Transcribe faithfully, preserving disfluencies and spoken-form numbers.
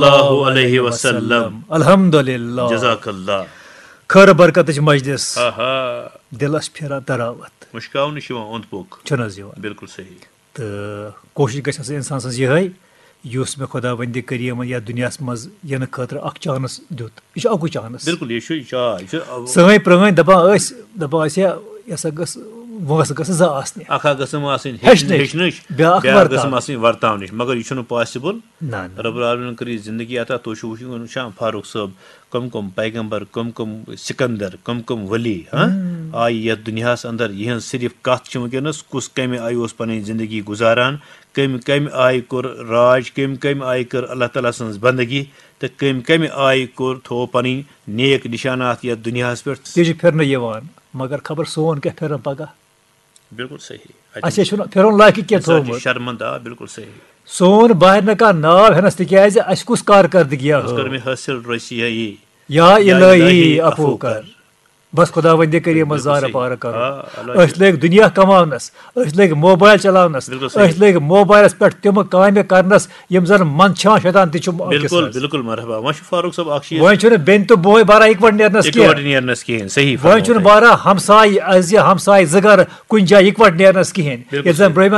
اللہ علیہ وسلم۔ الحمدللہ۔ جزاک اللہ۔ خٲر برکتٕچ مجلس۔ آہا۔ دِلس پھیران تراوت۔ مُشکاونہٕ چھُ یِوان اوٚنٛد پوٚک۔ چھُنہٕ حظ یِوان؟ بِلکُل صحیح۔ تہٕ کوٗشِش گژھِ آسٕنۍ اِنسان سٕنٛز یِہوٚے، یُس مےٚ خۄداوندِ کریٖمَن یَتھ دُنیاہَس منٛز یِنہٕ خٲطرٕ اَکھ چانس دیُت۔ یہِ چھُ اَکُے چانس۔ بِلکُل، یہِ چھُ، یہِ چھُ، آ، یہِ چھُ، آ، سٲنۍ پرٛٲنۍ دَپان ٲسۍ، دَپان ٲسۍ، "ہے، یہِ ہسا گٔژھ وٲنٛس گٔژھ زٕ آسنہِ۔" اَکھ اَکھ گٔژھٕم آسٕنۍ ہیٚچھنٕچ، ہیٚچھنٕچ، بیٛاکھ بیٛاکھ گٔژھٕم ورتاونٕچ۔ آسٕنۍ ورتاونٕچ، مگر یہِ چھُنہٕ possible۔ نہ، نہ۔ رب العالمین کٔر یہِ زندگی عطا۔ تُہۍ چھِو وٕچھان فاروق صٲب، کم کم پیغمبر، کم کم سکندر، کم کم ولی، ہاں، ہم۔ آیہِ یتھ دُنیاہس اندر۔ یِہنٛز صرف کتھ چھِ وٕنکیٚنس، کُس کمہِ آیہِ اوس پنٕنۍ زندگی گُزاران، کمہِ کمہِ آیہِ کوٚر راج، کمہِ کمہِ آیہِ کٔر اللہ تعالیٰ سٕنٛز بندگی، تہٕ کمہِ کمہِ آیہِ کوٚر، تھوو پنٕنۍ نیک نشانات یتھ دُنیاہس پٮ۪ٹھ۔ تہِ چھِ پھِرنہٕ یِوان، مگر خبر سون کیٛاہ پھِرن پگاہ۔ بِلکُل صحیح۔ اَسہِ چھُنہٕ پھِرُن لایقٕے کینٛہہ اِنسان چھُ تھوٚومُت۔ شرمندٕ، آ، بِلکُل صحیح۔ سون باہر نہٕ کانٛہہ ناو ہٮ۪نس، تِکیٛازِ اَسہِ کُس کارکردگی أس کٔر ہٲو؟ مےٚ حٲصِل رٔسی ہے یی۔ یا یا الہی الہی عفو عفو کر۔ کر۔ بس خداوندِ کریٖمس بِلکُل زارٕ صحیح۔ پارٕ کرو۔ آ، اللہ أسۍ لٔگۍ دُنیا کماونس، أسۍ لٔگۍ موبایل چلاونس، بِلکُل صحیح۔ أسۍ لٔگۍ موبایلس پٮ۪ٹھ تِمہٕ کامہِ کرنس یِم زن منٛدچھان شیطان تہِ چھُ أکِس بِلکُل، حظ۔ بِلکُل، مرحبا۔ وۄنۍ چھُ فاروق صٲب اکھ چیٖز۔ وۄنۍ چھُنہٕ بیٚنہِ تہٕ بوے بارا اِکوٹہٕ نیرنس اِکوٹہٕ کینٛہہ۔ نیرنس کِہیٖنۍ، صحیح وۄنۍ چھُنہٕ فرموو تۄہہِ۔ بارا ہمساے، از یہِ ہمساے زٕ گرٕ کُنہِ جایہِ اِکوٹہٕ نیرنس کِہیٖنۍ۔ بِلکُل ییٚلہِ زن صحیح۔ برٛونٛہمہِ